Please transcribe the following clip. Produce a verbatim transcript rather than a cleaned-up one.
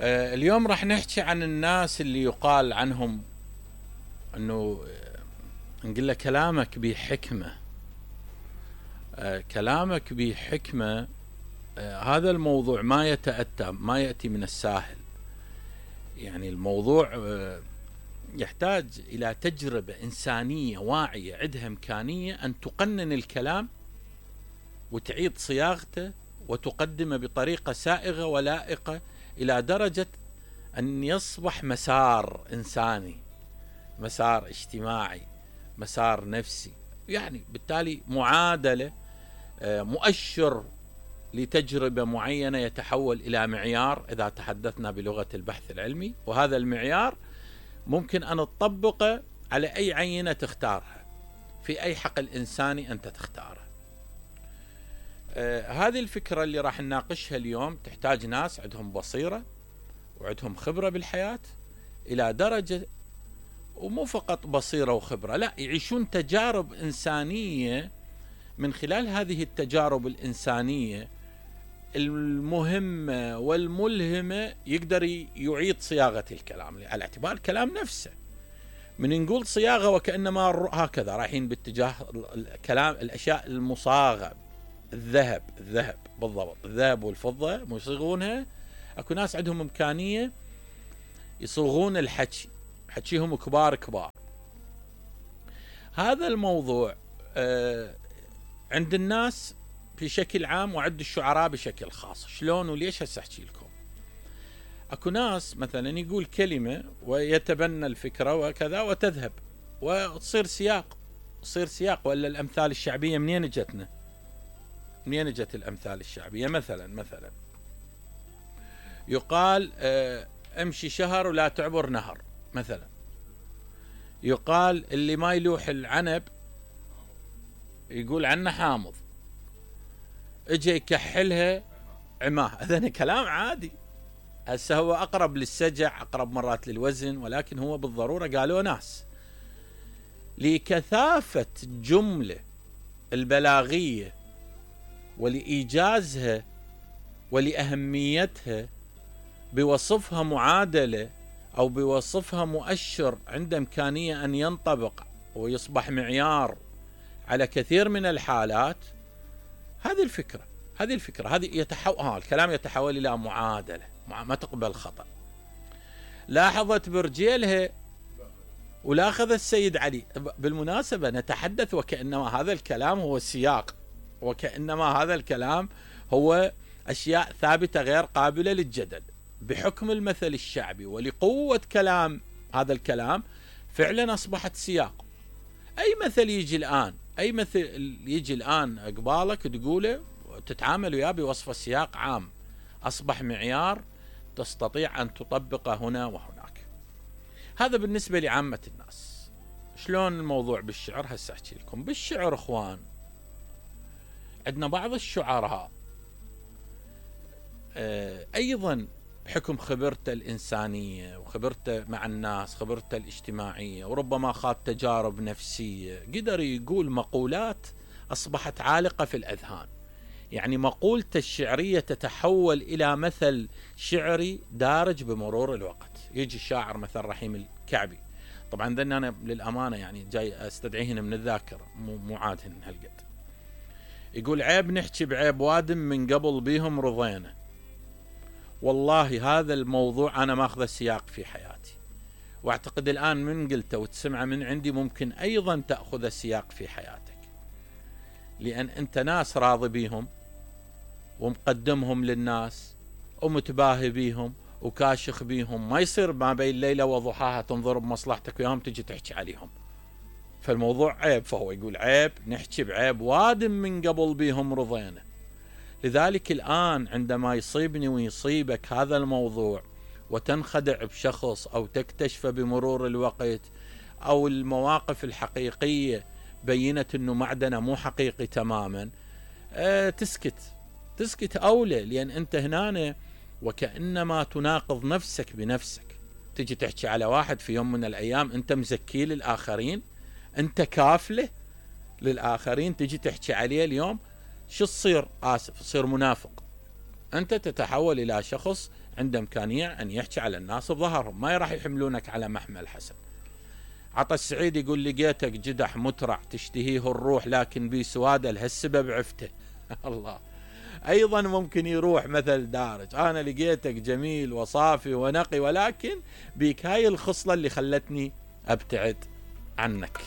آه اليوم راح نحكي عن الناس اللي يقال عنهم انه نقول له كلامك بحكمة. آه كلامك بحكمة. آه هذا الموضوع ما يتأتى، ما يأتي من الساهل. يعني الموضوع آه يحتاج إلى تجربة إنسانية واعية عندها إمكانية أن تقنن الكلام وتعيد صياغته وتقدمه بطريقة سائغة ولائقة إلى درجة أن يصبح مسار إنساني، مسار اجتماعي، مسار نفسي. يعني بالتالي معادلة، مؤشر لتجربة معينة يتحول إلى معيار إذا تحدثنا بلغة البحث العلمي، وهذا المعيار ممكن أن تطبقه على أي عينة تختارها في أي حقل إنساني أنت تختاره. آه هذه الفكرة اللي راح نناقشها اليوم تحتاج ناس عندهم بصيرة وعندهم خبرة بالحياة إلى درجة، ومو فقط بصيرة وخبرة، لا، يعيشون تجارب إنسانية. من خلال هذه التجارب الإنسانية المهمة والملهمة يقدر يعيد صياغة الكلام على اعتبار الكلام نفسه. من نقول صياغة وكأنما هكذا رايحين باتجاه الكلام، الأشياء المصاغة، الذهب الذهب بالضبط، الذهب والفضة يصيغونها. اكو ناس عندهم إمكانية يصيغون الحكي، حكيهم كبار كبار. هذا الموضوع آه عند الناس بشكل عام وعند الشعراء بشكل خاص. شلون وليش؟ هسه احكي لكم. اكو ناس مثلا يقول كلمة ويتبنى الفكرة وكذا وتذهب وتصير سياق، تصير سياق. ولا الأمثال الشعبية منين جتنا؟ منين جت الأمثال الشعبية؟ مثلا مثلا يقال اه امشي شهر ولا تعبر نهر. مثلا يقال اللي ما يلوح العنب يقول عنه حامض، اجي يكحلها عماه. هذا كلام عادي، هسه هو أقرب للسجع، أقرب مرات للوزن، ولكن هو بالضرورة قالوا ناس لكثافة الجملة البلاغية ولإيجازها ولأهميتها بوصفها معادلة أو بوصفها مؤشر عنده إمكانية أن ينطبق ويصبح معيار على كثير من الحالات. هذه الفكرة هذه الفكرة هذه يتحول ها الكلام يتحول إلى معادلة ما تقبل خطأ. لاحظت برجيلها ولا أخذ السيد علي. بالمناسبة نتحدث وكأنما هذا الكلام هو السياق، وكأنما هذا الكلام هو أشياء ثابتة غير قابلة للجدل. بحكم المثل الشعبي ولقوة كلام هذا الكلام فعلا أصبحت سياق. أي مثل يجي الآن أي مثل يجي الآن قبالك تقوله وتتعامل وياه بوصف سياق عام، أصبح معيار تستطيع أن تطبقه هنا وهناك. هذا بالنسبة لعامة الناس. شلون الموضوع بالشعر؟ هسه أحكي لكم. بالشعر إخوان عندنا بعض الشعراء أيضا بحكم خبرته الإنسانية وخبرته مع الناس، خبرته الاجتماعية، وربما خاض تجارب نفسية، قدر يقول مقولات أصبحت عالقة في الأذهان. يعني مقولته الشعرية تتحول إلى مثل شعري دارج بمرور الوقت. يجي الشاعر مثل رحيم الكعبي، طبعا ذن أنا للأمانة يعني جاي أستدعيهن من الذاكرة، مو عادهن هالقد. يقول عيب نحكي بعيب وادم من قبل بيهم رضينا. والله هذا الموضوع أنا ماخذ السياق في حياتي، واعتقد الآن من قلته وتسمعه من عندي ممكن أيضا تأخذ السياق في حياتك، لأن أنت ناس راضي بيهم ومقدمهم للناس ومتباهي بيهم وكاشخ بيهم. ما يصير ما بين ليلة وضحاها تنظر بمصلحتك وياهم تجي تحكي عليهم، فالموضوع عيب. فهو يقول عيب نحكي بعيب وادم من قبل بيهم رضينا. لذلك الآن عندما يصيبني ويصيبك هذا الموضوع وتنخدع بشخص أو تكتشف بمرور الوقت أو المواقف الحقيقية بينت أنه معدنه مو حقيقي تماما، أه تسكت تسكت أولى، لأن أنت هنا وكأنما تناقض نفسك بنفسك. تجي تحكي على واحد في يوم من الأيام أنت مزكي للآخرين، أنت كافله للآخرين، تجي تحكي عليه اليوم شو تصير؟ آسف، تصير منافق. أنت تتحول إلى شخص عنده إمكانية أن يحكي على الناس بظهرهم، ما راح يحملونك على محمل حسن. عطا السعيد يقول لقيتك جدح مترع تشتهيه الروح لكن بي سوادة لهالسبب عفته. الله. أيضا ممكن يروح مثل دارج، أنا لقيتك جميل وصافي ونقي ولكن بيك هاي الخصلة اللي خلتني أبتعد عنك.